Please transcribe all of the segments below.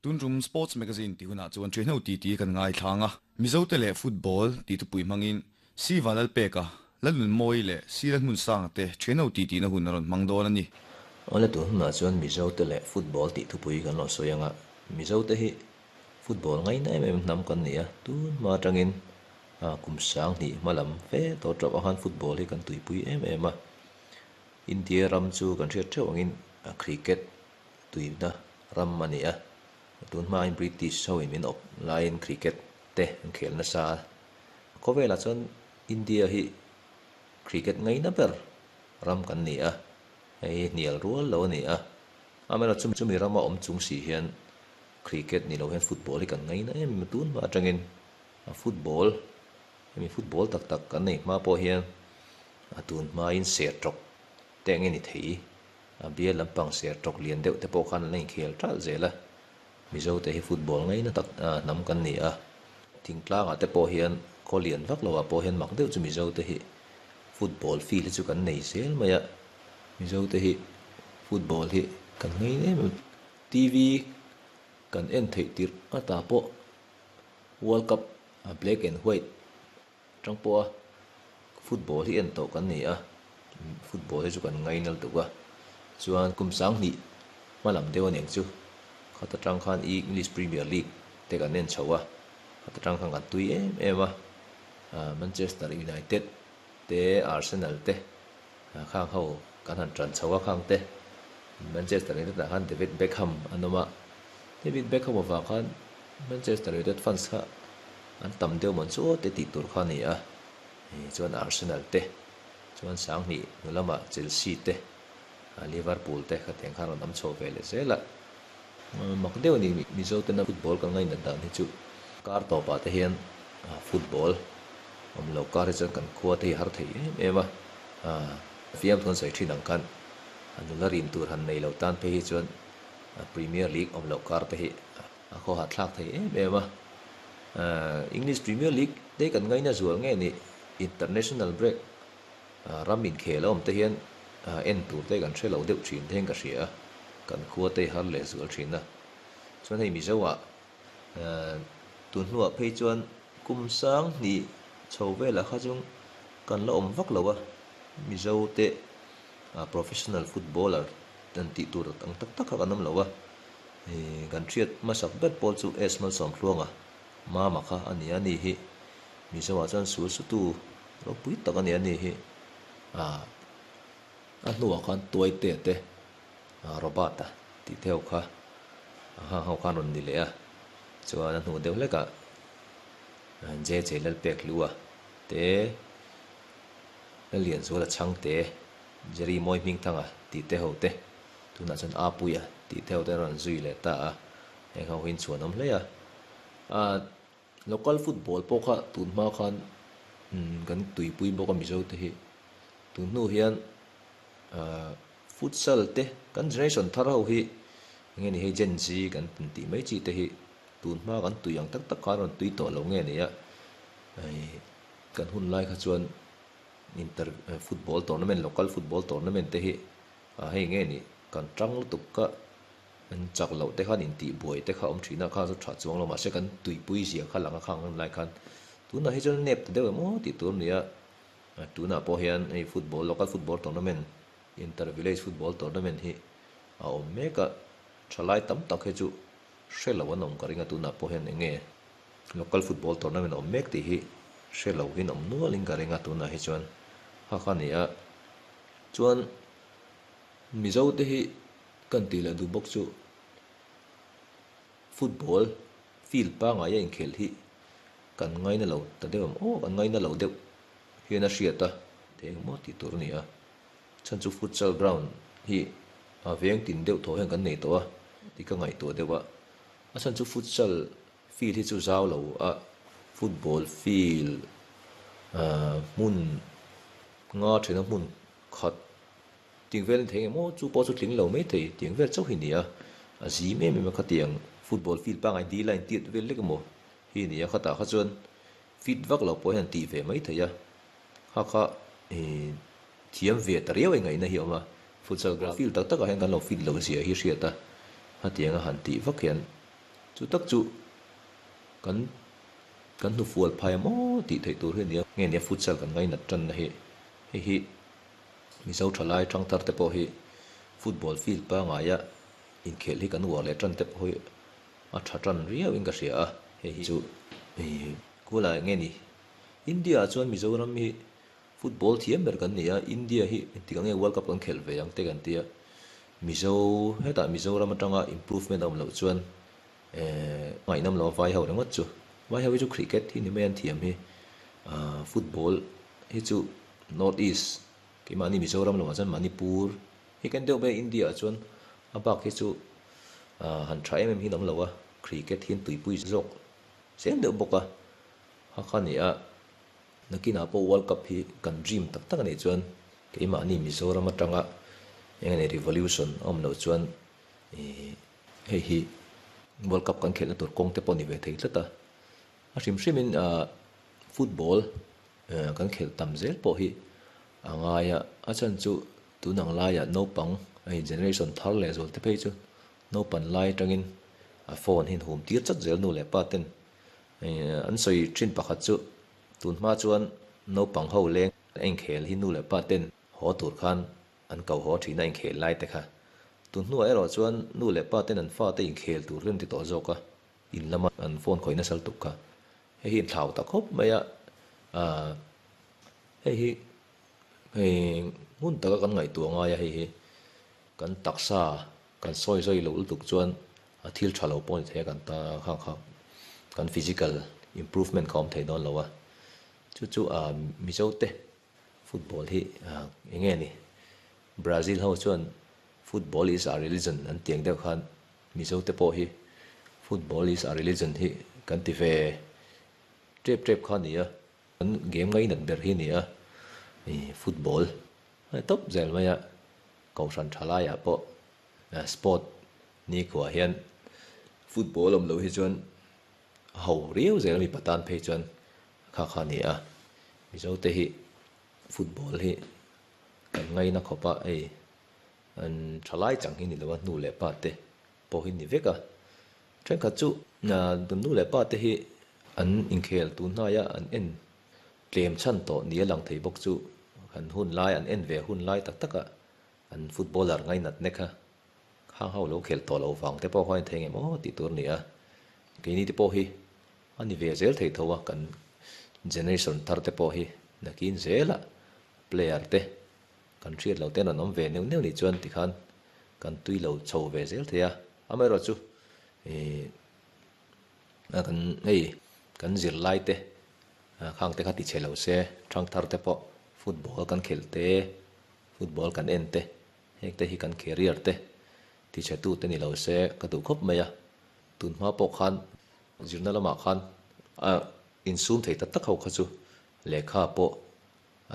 Tun tum Sports Magazine tih hunah chuan thianho titi kan ngaithlang a, Mizote leh Football tih thupui hmangin Si Vanlalpeka, Lalnunmawii leh Si Lalhmunsanga te thianho titi na hun a rawn hmang dawn a ni. Awle tun hunah chuan Mizote leh Football tih thupui kan rawn sawi ang a, Mizote hi Football ngaina em em hnam kan ni a, tun hma atangin kum 2000 hma lam fe tawh tawh ah khan Football hi kan tuipui em em a, India ram chu kan hriat theuh angin Cricket tuina ram a ni a, tun hmain British ho in min awp laiin Cricket te an khel nasa a, khawvelah chuan India hi Cricket ngaina ber ram kan ni a, hei hnial rual lo a ni a, amaherawhchu chumi rama awm chung si hian Cricket ni lo hian Football hi kan ngaina em em a, tun hma atangin Football hemi Football tak tak kan nei hma pawh hian a tun hmain ser tawk te eng nge ni thei? A bial lampang ser tawk lian deuh te pawh khan an la inkhel ṭalh zel a. Mizo te hi football ngaina tak hnam kan ni a. Thingtlangah te pawh hian khaw lian vak lovah pawh hian mak deuh chu Mizo te hi football field hi chu kan nei zel mai a. Mizo te hi football hi kan ngaina em em. TV kan en theih tirh ata pawh World Cup black and white Tang pawha football hi en tawh kan ni a, football hi chu kan ngainal tuk a, chuan kum 2000 hma lam deuh a niang chu, khata tang khan English Premier League te kan en chho a, khata tang khan kan tui em em a, Manchester United te Arsenal te khang ho kan han tan chho a khang te, Manchester United ah khan David Beckham an awm a, David Beckham avang khan Manchester United fans kha an tam deuh mawn chu aw te tih tur kha a ni a, chuan Arsenal te chuan 2000 hnu lamah Chelsea te Liverpool te khatiang khan rawn awm chho ve leh zel a, mak deuh a ni Mizo tena football kan ngainat dan hi chu kar tawpah te hian football awm lo kar hi chuan kan khua te hi a har thei em em a, fiamthu an sawi thin ang khan nula rin tur han nei lo tan phei hi chuan Premier League awm lo kar te hi a khawhah thlak thei em em a. English Premier League te kan ngaina zual nge ni international break ram inkhel a awm te hian en tur te kan hre lo deuh thin te hian ka hria a, kan khua te har leh zual thin a. Chuan hei Mizo ah tun hnuah phei chuan kum 2000 chho velah kha chu kan la awm vak lo a, Mizo te professional footballer an tih tur ang tak tak kha kan awm lo a. Kan hriat hmasak ber pawl chu S Malsawmthluanga mama kha a ni a ni hi. Mizoah chuan sul sutu ropui tak a ni a ni hi. A hnuah khan Tuaite te Robert-a tih te ho kha a hang ho khan rawn ni leh a. Chuan a hnu deuh hlekah JJ Lalpekhlua te Lalianzuala Chhangte Jerry Mawi Hmingthanga tih te ho te Tunah chuan Apuia tih te ho te an rawn zui leh ta a, heng ho hi in chhuan awm hle a. Ahh local football pawh kha tun hma khan kan tuipui bawk a Mizo te hi. Tun hnu hian ahh futsal te kan generation thar ho hi eng nge ni hei Gen Z kan tih mai chi te hi tun hma kan tui ang tak tak khan rawn tui tawh lo nge ni a, kan hun lai kha chuan inter football tournament local football tournament te hi A hei nge ni, kan tang lutuk ka an chak loh te khan intih buai te kha awm thin a, kha chu tha chuang lo mahse kan tuipui zia kha lang a khang hun lai khan tunah hi chuan nep ta deuh em aw tih tur a ni a, tunah pawh hian hei football local football tournament inter village football tournament hi a awm mek a, thalai tam tak hi chu hre lo an awm ka ring a tunah pawh hian eng nge local football tournament a awm mek tih hi hre lo in awm nual in ka ring a tunah hi chuan kha kha a ni a. Chuan Mizo te hi kan tih leh duh bawk chu football field pangngai a inkhelh hi kan ngaina lo ta deuh em aw, kan ngaina lo deuh hian a hriat a, thei eng maw tih tur a ni a. Chhan chu futsal ground hi a veng tin deuh thaw hian kan nei tawh a tih ka ngaihtuah deuh a, a chhan chu futsal field hi chu zau lo a, football field hmun Nga thena hmun khat tiang vel thei emaw chu pawh chu tling lo mai thei tiang vel chauh hi ni a, a zim em em a khatiang football field pangngai dil a intiat vel lek emaw hi ni a, khatah kha chuan fit vak lo pawh hian tih ve mai thei a, kha kha ih thiam ve ta riau a ingaihna hi a awm a, futsal ground field tak takah hian kan lo fit lo zia hi hriat a, khatiang a han tih vak hian. Chu tak chu kan kan hnufual phai maw tih theih tur hi a ni a, nge nia futsal kan ngainat tanna hi hei hi Mizo thalai tangthar te pawh hi football field pangaia inkhelh hi kan uar leh tan te pawh hi a tha tan riau in ka hria a, hei hi chu kula nge ni India ah chuan Mizoram hi football thiam ber kan ni a, India hi engtik ang nge World Cup kan khelh ve ang te kan tia, Mizo hetah Mizoram atanga improvement a awm loh chuan ngaihnawm lo a vai ho ringawt chu, vai ho hi chu cricket hi ni mai an thiam hi, football hi chu North East keimahni Mizoram lamah chuan Manipur hi kan deuh mai a, India ah chuan a bak hi chu han tha em em hi an awm lo a, cricket hi an tuipui zawk zel deuh bawk a, ha kha ni a, nakinah pawh World Cup hi kan dream tak tak a nih chuan keimahni Mizoram atanga eng nge revolution a awm loh chuan ih hei hi World Cup kan khelhna tur kawng te pawh a ni ve thei tlat a, a hrim hrimin football kan khelh tam zel pawh hi a ngai a, a chhan chu tun ang laiah naupang hei generation thar leh zual te phei chu naupan lai atangin a phone hi an hum tir chat zel nu leh pa ten an sawi thin pakhat chu tun hma chuan naupang ho leng a inkhel hi nu leh pa ten haw tur khan an ko haw thin a inkhel lai te kha tun hnuah erawh chuan nu leh pa ten an fate inkhel tur hi an ti tawh zawk a in lama an phone khawih nasal tuk kha. Hei hi thlau ta khawp mai a, aah hei hi hei hmun taka kan ngaihtuah ngai a hei hi kan taksa kan sawi zai loh lutuk chuan a thil tha lo pawh a ni thei a kan ta kha kha kan physical improvement kha a awm thei dawn lo a, chu chu aah Mizo te football hi aah eng nge ni Brazil ho chuan football is our religion an tih ang deuh khan Mizo te pawh hi football is a religion hi kan ti ve tep tep kha a ni a, kan game ngainat ber hi a ni a, ih football a ni tawp zel mai a, kohhran tha laiah pawh sport nikhuah hian football awm loh hi chuan a ho riau zel a mipa tan phei chuan kha kha a ni a, Mizo te hi football hi kan ngaina khawp a hei. An tha lai chang hi ni lo a, nu leh pa te pawh hi ni vek a. Thenkhat chu nu leh pa te hi an inkhel tun hnaia an en tlem chhan tawh ni a lang thei bawk chu an hun lai an en ve hun lai tak taka an footballer ngainat nek a, khang ho lo khel tawh lo vang te pawh khan thei ngem aw tih tur a ni a. Keini te pawh hi a ni ve zel thei tho a, kan generation thar te pawh hi nakin zelah player te Kan hriat lo ten an awm ve neuh neuh nih chuan tikhan kan tui lo chho ve zel thei a, amaherawh chu ih kan hei kan zirlai te khang te kha ti chhe lo se, thangthar te pawh football kan khelh te, football kan en te, heng te hi kan career te ti chhe tu te ni lo se ka duh khawp mai a, tun hma pawh khan zirna lamah khan a insum thei tak tak ho kha chu lehkha pawh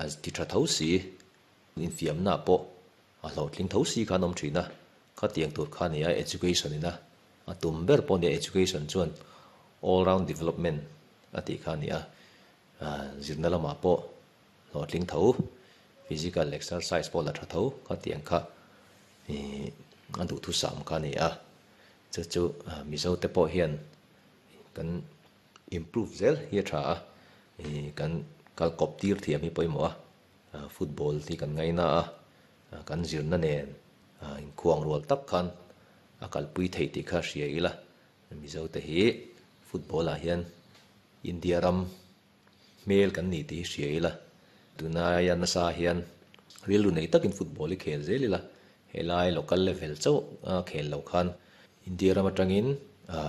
A ti tha tho si, infiamna pawh a hlawhtling tho si khan awm thin a, khatiang tur kha nia education ina a tum ber pawh nia education chuan all round development a tih kha nia, zirna lamah pawh hlawhtling tho, physical exercise pawh la tha tho khatiang kha a duhthusam kha a ni a, chu chu Mizo te pawh hian kan Improve zel hi a tha a, kan kal kawp tir thiam hi pawimawh a, football hi kan ngaina a, kan zirna nen inkhuang rual tak khan a kalpui theih tih kha hria ila, Mizo te hi football ah hian India ram hmel kan ni tih hi hria ila, tunlaia nasa hian rilru nei takin football hi khel zel ila, helai local level chauh a khel lo khan India ram atangin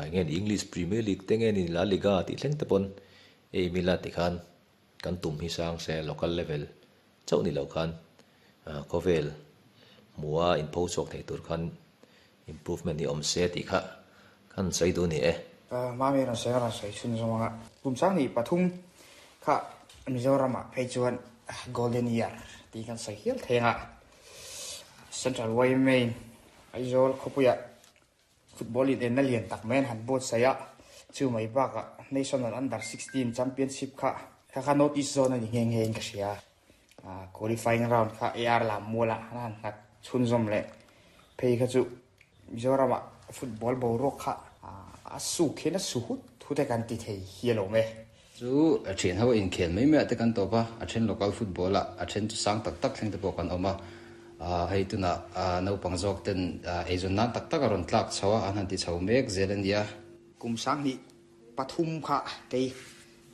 eng nge ni English Premier League te nge ni La Liga tih thleng te pawn aim ila tikhan kan tum hi sang se local level chauh ni lo khan khawvel hmuha inpho chhuak thei tur khan improvement hi awm se tih kha kan sawi duh a ni e. Mami rawn sawi a rawn sawi chhun zawng a, kum sang hnih pathum kha Mizoramah phei chuan Golden Year tih kan sawi hial thei ang a, Central yma Aizawl khawpuiah football in enna lian tak mai an han buatsaih a, chu mai bakah National Under 16 Championship kha kha kha North East Zone a ni nghe nghe in ka hria. Qualifying round kha AR lam mualah an han nghat chhunzawm leh phei kha chu Mizoramah football boruak kha. A suk hian a su hut hut e kan ti thei hi alawm e. Chu a thian ho inkhel mai mai ah te kan tawp a, a then local football ah, a then chu sang tak tak thleng te pawh kan awm a. Hei tunah naupang zawk ten eizawn nan tak tak a rawn tlak chho a, an han ti chho mek zel a nia. Kum 2003 kha kei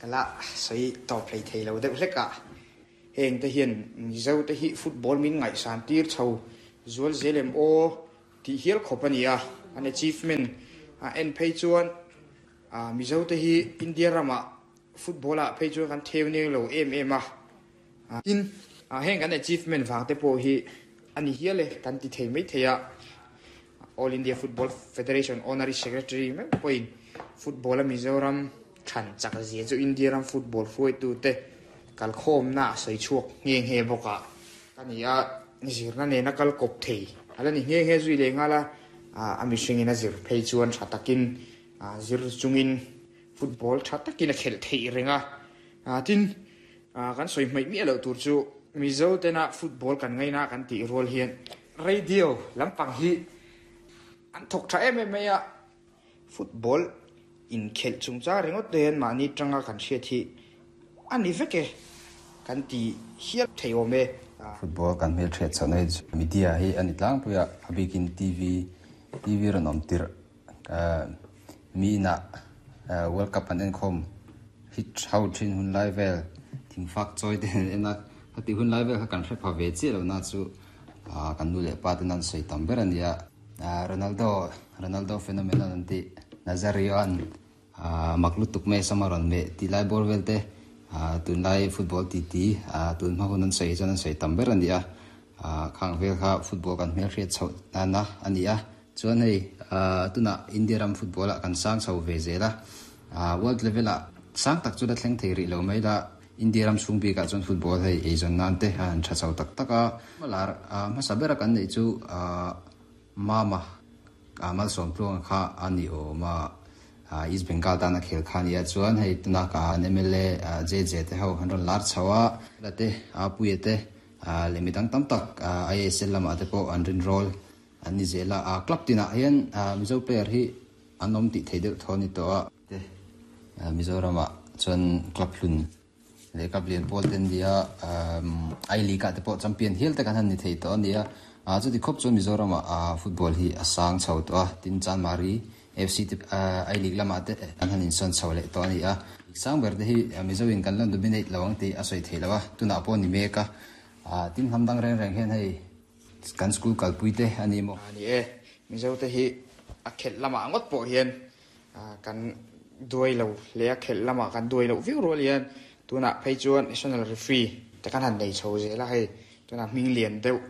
ka la sawi tawp hlei thei lo deuh hlek a. Heng te hian Mizo te hi football min ngaihsan tir chho zual zel em aw tih hial khawp a ni a. An achievement a en phei chuan Mizo te hi India ramah football ah phei chuan kan theu neng lo em em a. Tin, heng kan achievement vang te pawh hi a ni hial e kan ti thei mai thei a. All India Football Federation Honorary Secretary meuh pawhin football a Mizoram than chak zia chu India ram football hruaitute kalkhawmna a sawi chhuak nghe nghe bawk a. Ka ni a, zirna nena kal kawp thei a la ni nghe nghe zui leh nghal a, a mihringin a zir phei chuan tha takin zir chungin football tha takin a khelh theih reng a. Tin, kan sawi hmaih miah loh tur chu Mizo tena football kan ngaina kan tih rual hian Radio lampang hi an thawk tha em em mai a, football inkhelh chungchang ringawt te hian mahni tanga kan hriat hi a ni vek e kan ti hial thei awm e. Football kan hmelhriat chhohna hi chu media hi a ni tlangpui a, a bikin TV, TV rawn awm tirh mi inah World Cup an enkhawm hi ho thin hun lai vel thingfak chawi te an en a, khati hun lai vel kha kan hre pha ve chiah lo na chu kan nu leh pa ten an sawi tam ber a nia. Ronaldo, Ronaldo phenomenon an tih, Nazario an mak lutuk mai sama rawn meh tih lai bawr vel te tunlai football titi tun hma hun an sawi hi chuan an sawi tam ber a ni a, khang vel kha football kan hmelhriat chhoh nana a ni a. Chuan hei tunah India ram football ah kan sang chho ve zel a, world level ah sang tak chu la thleng thei rih lo mai la, India ram chhung bikah chuan football hei eizawn nan te a han tha chho tak tak a. Lar hmasa bera kan neih chu Mama Malsawmtluanga kha a ni awm a, East Bengal tana khel kha a nia. Chuan hei tunah ka an mla JJ te ho an rawn lar chho a, la te Apuia te leh midang tam tak ISL lamah te pawh an rinrawl an ni zel a. Club tinah hian Mizo player hi an awm tih theih deuh thaw a ni tawh a. Te Mizoramah chuan club hlun leh club lian pawl te an ni a, I League ah te pawh champion hial te kan han ni thei tawh a ni a. Chuti khawp chuan Mizoramah football hi a sang chho tawh a, tin Chanmari FC te I League lamah te an han insawn chho leh tawh a ni a. Sang ber te hi Mizo in kan la dominate lo ang tih a sawi theih loh a, tunah pawh a ni mek a. Tin hnam dang reng reng hian hei kan school kalpui te a ni maw? A ni e, Mizo te hi a khelh lamah ngawt pawh hian Kan duai lo hle a, khelh lamah kan duai loh viau rual hian tunah phei chuan national referee te kan han nei chho zel a, hei tunah hming lian deuh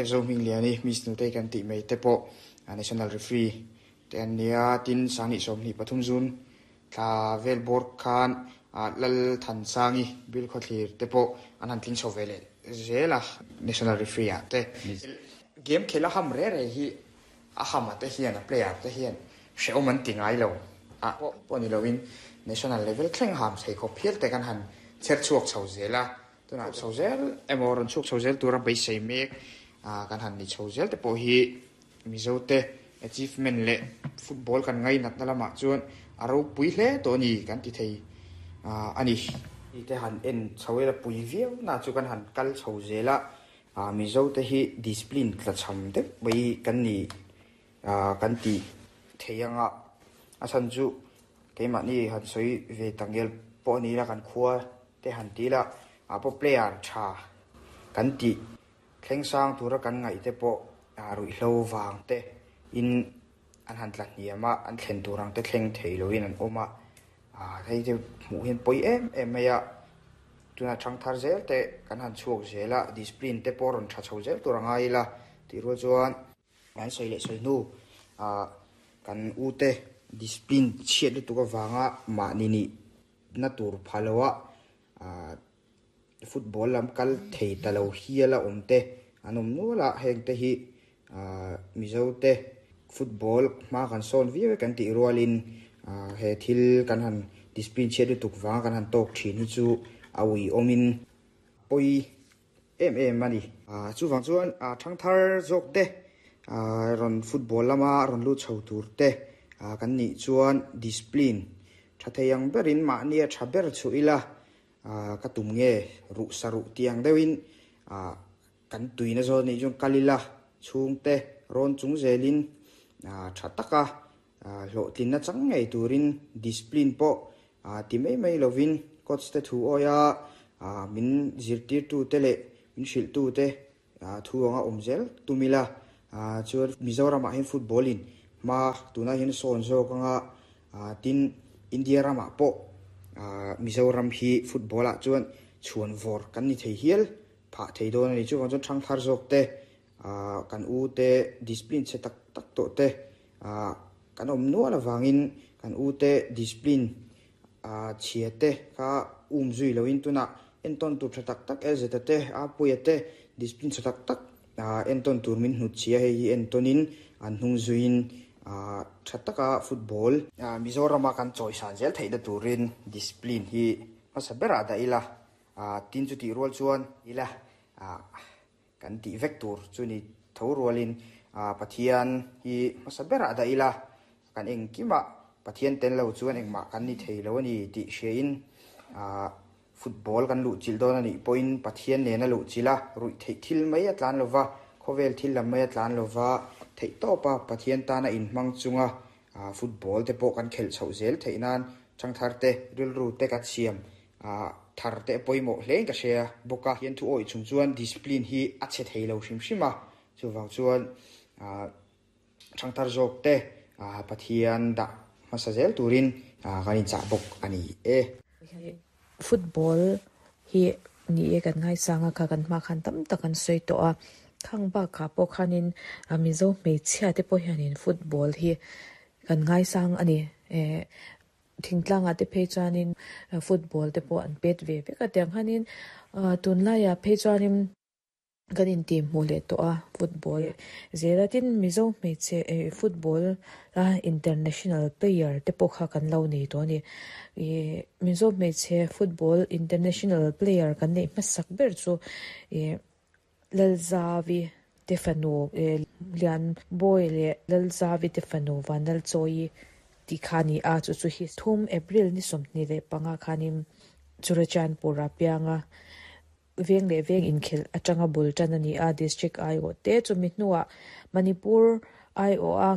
F zo hming lian hi Miss Nutei kan tih mai te pawh national referee te an nia, tin 2023 zun thla vel bawr khan Lal Thansangi Bill Khawthlir te pawh an han tling chho ve leh zel a national referee ah te. Game khelh a ham re re hi A hama te hian, a player te hian hrehawm an ti ngai lo a pawh ni loin national level thleng ham thei khawp hial te kan han chher chhuak chho zel a, tunah chho zel emaw rawn chhuak chho zel tura beisei mek kan han ni chho zel te pawh hi Mizo te achievement leh football kan ngainatna lamah chuan a ropui hle tawh a ni kan ti thei a ni. Ti te han en chho ila pui viau na chu kan han kal chho zel a. Mizo te hi discipline tlachham deuh mai kan ni kan tih thei anga a chhan chu keimahni han sawi ve tangel pawh a ni ila kan khua te han ti ila ah pawh player tha kan tih thleng sang tura kan ngaih te pawh ruihhlo vang te in an han tla hniam a an thlen tur ang te thleng thei loin an awm a hei te hmuh hian pawi em em mai a. Tuna chhang thar zel te kan han chhuak zel a, discipline te pawh rawn tha chho zel tur a ngai ila tih rual chuan kan sawi leh sawi hnu ah kan u te discipline chhiat lutuk avanga mahni nih na tur pha lo a ah football lam kal thei ta lo hial a awm te an awm nual a, heng te hi ah Mizo te football hma kan sawn viau e kan tih rualin ah he thil kan han discipline chhiat lutuk vanga kan han tawk thin hi chu a uiawmin pawi em em a ni. Ah chuvang chuan ah thangthar zawk te ah rawn football lama rawn lut chho tur te kan nih chuan discipline tha thei ang berin mahnia tha ber chu ila ka tum nge ruh saruh tiang deuhin kan tuina zawn nih chuan kal ila chhungte rawn chung zelin tha taka hlawhtlinna chang ngei turin discipline pawh ti mai mai lovin coach te thu awia min zirtirtu te leh min hrilhtu te thu anga awm zel tum ila chuan Mizoramah hian football in hma tunah hian sawn zawk anga tin India ramah pawh Mizoram hi football ah chuan chhuan vawr kan ni thei hial phah thei dawn a ni. Chuvang chuan thangthar zawk te kan u te discipline chhe tak tak tawh te kan awm nual avangin kan u te discipline chhia te kha um zui loin tunah entawn tur tha tak tak Elzeta te Apuia te discipline tha tak tak entawn tur min hnut chhia hei hi entawnin an hnung zuiin tha taka football Mizorama kan chawisan zel theihna turin discipline hi hmasa berah dah ila tin chu tih rual chuan ila kan tih vek tur chu ni tho rualin Pathian hi hmasa berah dah ila kan engkimah Pathian tel lo chuan engmah kan ni thei lo a ni tih hriain football kan luh chilh dawn a nih pawhin Pathian nena luh chilh a ruih theih thil mai a tlan lova khawvel thil lam mai a tlan lova theih tawpa Pathian tana inhmang chunga football te pawh kan khelh chhoh zel theih nan thangthar te rilru te kan siam thar te pawimawh hle in ka hria bawk a. Hian thu awih chung chuan discipline hi a chhe thei lo hrim hrim a, chuvang chuan thangthar zawk te Pathian dah hmasa zel turin kan inchah bawk a ni e. Football hi ni e kan ngaisang a kha kan hma khan tam tak an sawi tawh a, khang bakah pawh khanin Mizo hmeichhia te pawh hianin football hi kan ngaisang a ni. Thingtlangah te phei chuanin football te pawh an pet ve vek a, tiang khanin tunlaiah phei chuanin kan intih hmuh leh tawh a football zela tin Mizo hmeichhe eh football a international player te pawh kha kan lo nei tawh a ni ih Mizo hmeichhe football international player kan neih hmasak ber chu ih Lalzavi te fanu eh Lianbawi leh Lalzavi te fanu Vanlalchawi tih kha a ni a, chu chu hi thum April ni 25 khanin Churachandpur-a pianga veng leh veng inkhelh atanga bul tan a ni a, District aiawh te chumi hnuah Manipur aiawha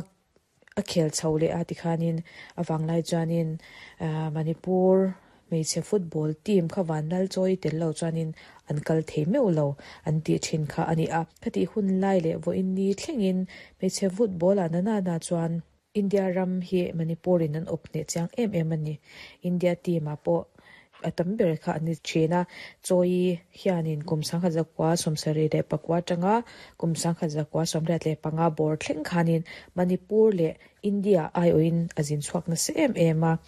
a khel chho leh a tikhanin a vanglai chuanin Manipur hmeichhe football team kha Vanlal chawi tel lo chuanin an kal thei meuh lo an tih thin kha a ni a. Khatih hun lai leh vawiin ni thlengin hmeichhe football ah nanana chuan India ram hi Manipur in an awp hneh chiang em em a ni. India team ah pawh a tam ber kha an ni thin a. Chawi hianin kum 1974 atanga kum 1985 bawr thleng khanin Manipur leh India aiawhin a zin chhuak nasa em em a.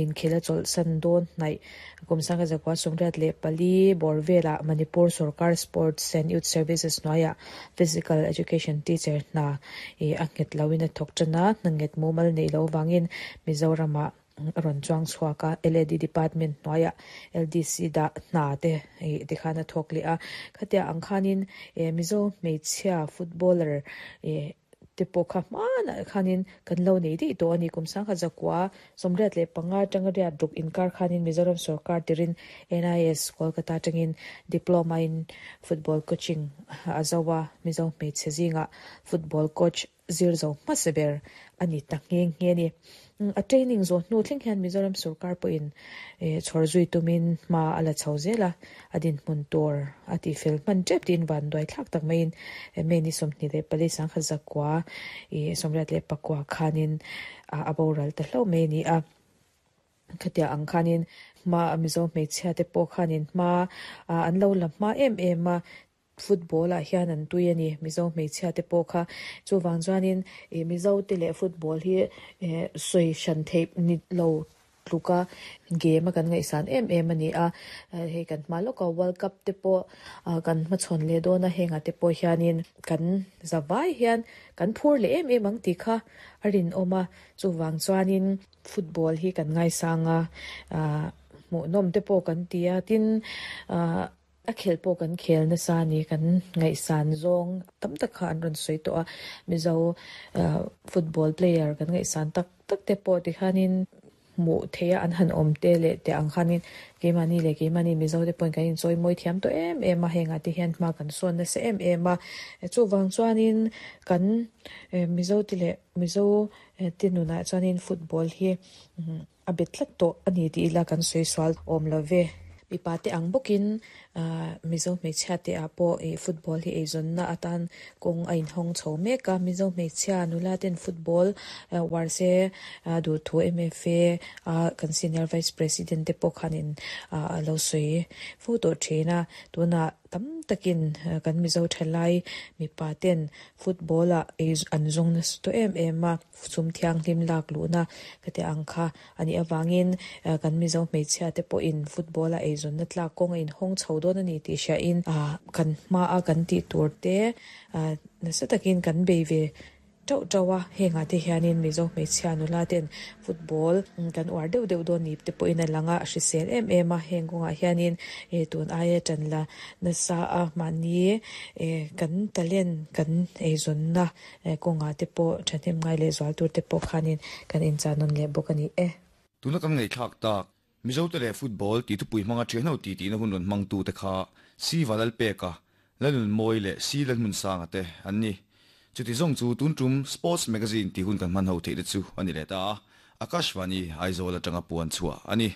Inkhel a chawlhsan dawn hnaih kum 1984 bawr velah Manipur Sorkar Sports and Youth Services hnuaiah Physical Education Teacher hna a nghet loin a thawk tan a, hna nghet mumal neih loh avangin Mizoramah a rawn chuang chhuak a, LAD Department hnuaiah LDC dah hna te tikhan a thawk leh a, khatia ang khanin Mizo hmeichhia footballer te pawh kha hmanah khanin kan lo nei daih tawh a ni. Kum 1985 atanga riat ruk inkar khanin Mizoram sorkar tirin NIS Kolkata atangin Diploma in Football Coaching a zo a, Mizo hmeichhe zingah Football Coach zir zo hmasa ber a ni ta nghe nghe a ni. A training zawh hnu thleng hian Mizoram sorkar pawhin chhawr zui tumin hma a la chho zel a, a dinhmun tur a tihfel hman tep tiin vanduai thlak tak maiin May ni 24 1984 khanin a boral ta hlauh mai a ni a. Khatia ang khanin hma Mizo hmeichhia te pawh khanin hma an lo la hma em em a, Football ah hian an tui a ni, Mizo hmeichhia te pawh kha. Chuvang chuanin ih Mizo te leh football hi eh sawi hran theih ni lo tluka game a kan ngaihsan em em a ni a. Hei kan hma lawka World Cup te pawh kan hmachhawn leh dawn a, hengah te pawh hianin kan zavai hian kan phur leh em em ang tih kha a rinawm a. Chuvang chuanin football hi kan ngaisang a, ah hmuhnawm te pawh kan ti a, tin ah. A khel pawh kan khel nasa a ni, kan ngaihsan zawng tam tak kha an rawn sawi tawh a, Mizo football player kan ngaihsan tak tak te pawh tikhanin hmuh theih a an han awm te leh teh ang khanin keimahni leh keimahni Mizo te pawhin kan inchawi mawi thiam tawh em em a, hengah te hian hma kan sawn nasa em em a, chuvang chuanin kan Mizo te leh Mizo te nunah chuanin football hi A bet tlat tawh a ni tih ila kan sawi sual awm lo ve. Mipa te ang bawkin Mizo hmeichhia te ah pawh ih football hi eizawnna atan kawng a inhawng chho mek a. Mizo hmeichhia nula ten football uar se duh thu MFA a kan senior vice president te pawh khanin a lo sawi fo tawh thin a. Tunah tam takin kan Mizo thalai mipa ten football ah ei an zawng nasa tawh em em a. Sum thianghlim lak luhna ka tih ang kha a nih avangin kan Mizo hmeichhia te pawhin football a eizawnna tlak kawng a inhawng chho dawn a ni tih hriain kan hmaa kan tih tur te nasa takin kan bei ve tauh tauh a, hengah te hianin Mizo hmeichhia nula ten football kan uar deuh deuh dawn ni te pawhin a lang a, a hrisel em em a, heng kawngah hianin tun aia tan la nasa a mahni kan talent kan eizawnna Kawngah te pawh thahnem ngai leh zual tur te pawh khanin kan inchah nawn leh bawk a ni e. Tuna kan ngaihthlak tak, Mizote leh football tih thupui hmanga thianho ti tihna hun rawn hmangtute kha Si Valalpeka, Lalnunmawi leh Si Lalhmunsanga te an ni. Chuti zawng chu tun tum Sports Magazine tih hun kan hman ho theih te chu a ni leh ta a, Akashvani Aizawl atanga puan chhuah a ni.